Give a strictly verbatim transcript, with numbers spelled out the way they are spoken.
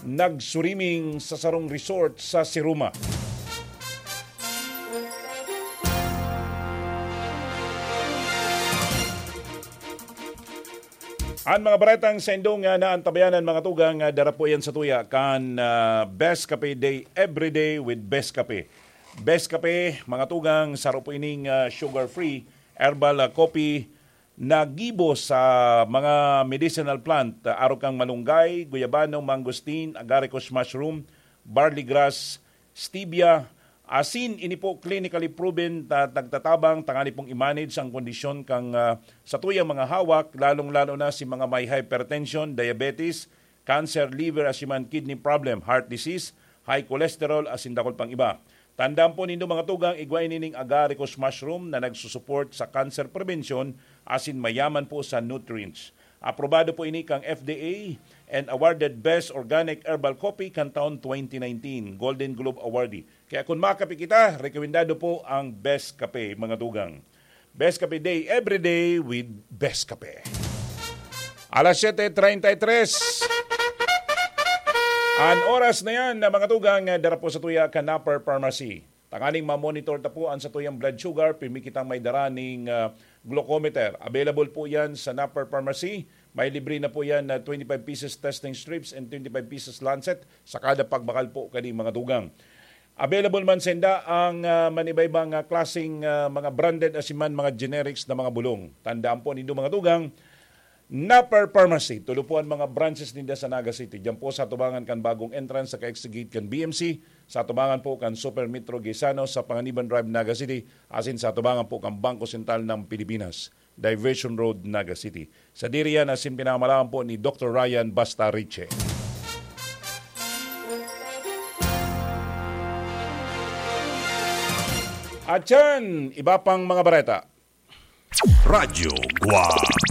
nagsuriming sa sarong resort sa Siruma. An mga baretang saindong, ah, naantabayanan, mga tugang, ah, dara po yan sa tuya kan, ah, Best Cafe Day, every day with Best Cafe. Best Cafe, mga tugang, saro po ining, ah, sugar-free herbal, ah, coffee na gibo sa mga medicinal plant, ah, arog kan malunggay, guyabano, mangosteen, agaricus mushroom, barley grass, stevia, asin. Ini po clinically proven ta-, nagtatabang tangani pong i-manage ang kondisyon kan, ah, satuyang mga hawak, lalong-lalo na si mga may hypertension, diabetes, cancer, liver, asin man kidney problem, heart disease, high cholesterol, asin dakul pang iba. Tandaan po nindo, mga tugang, igwa ini ning agaricus mushroom na nagsusupport sa cancer prevention asin mayaman po sa nutrients. Aprobado po ini kang F D A and awarded Best Organic Herbal Coffee kan taon twenty nineteen, Golden Globe awardee. Kaya kung makape kita, rekomendado po ang Best Cafe, mga tugang. Best Cafe Day, every day with Best Cafe. Alas siyete treinta y tres. An oras na yan, na mga tugang, ah, dara po sa tuya kan Napper Pharmacy. Tanganing ma-monitor ta po an satuyang blood sugar, pirmi kitang may dara ning, ah, glucometer. Available po yan sa Napper Pharmacy. May libre na po yan na twenty-five pieces testing strips and twenty-five pieces lancet sa kada pagbakal po kani, mga tugang. Available man sinda ang, ah, manibaybang, ah, klaseng, ah, mga branded asin man mga generics na mga bulong. Tandaan po nindo, mga tugang, Napper Pharmacy, tulo po an mga branches ninda sa Naga City. Diyan po sa tubangan kan bagong entrance sa ka-exit gate kan B M C, sa tubangan po kan Super Metro Gaisano sa Panganiban Drive, Naga City, asin sa tubangan po kan Bangko Sentral ng Pilipinas, Diversion Road, Naga City. Sadiri yan asin pinamamalaan po ni Doktor Ryan Basta Riche. At yan, iba pang mga bareta. Radyo Guwang.